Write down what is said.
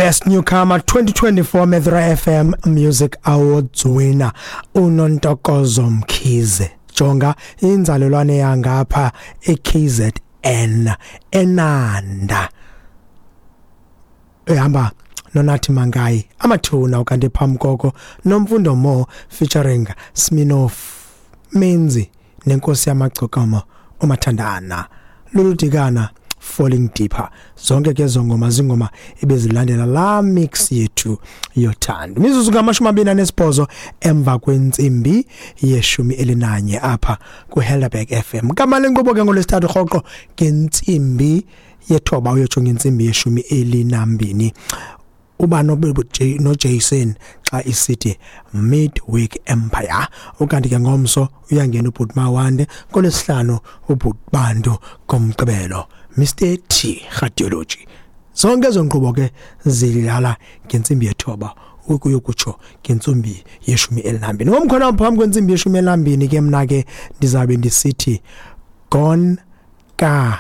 Best Newcomer 2024 Metro FM Music Awards winner uNontokozo Mkhize. Jonga inzalelwane yangapha eKZN eNanda. Ehamba noNathi Mankayi amathuna, ukanti phambi koko Nomfundo Mo featuring Sminoff Menzi nenkosi yamagcokama uMathandana Luludikana, Falling Deeper. Zonke ke ezo ngoma zingoma ebezilandela la mix yethu yothando. Mizuzu ngama-28 emva kwentsimbi ye-11 apha kuHelderberg FM. Kamale nkqubo ke ngolwesithathu rhoqo ngentsimbi ye-9 uyotsho ngentsimbi ye-12 uba noJason xa isithi Midweek Empire. Ukanti ke ngomso uyangena ubhuti Mawande, ngolwesihlanu ubhuti Bantu, ngomgqibelo Mr T Radiology. Zonke ezo nkqubo ke zidlala ngentsimbi ye-9 ukuyokutsho ngentsimbi ye-12. Ngomkhona phambi kwentsimbi ye-12 ke mna ke ndizabe ndisithi gone kanje.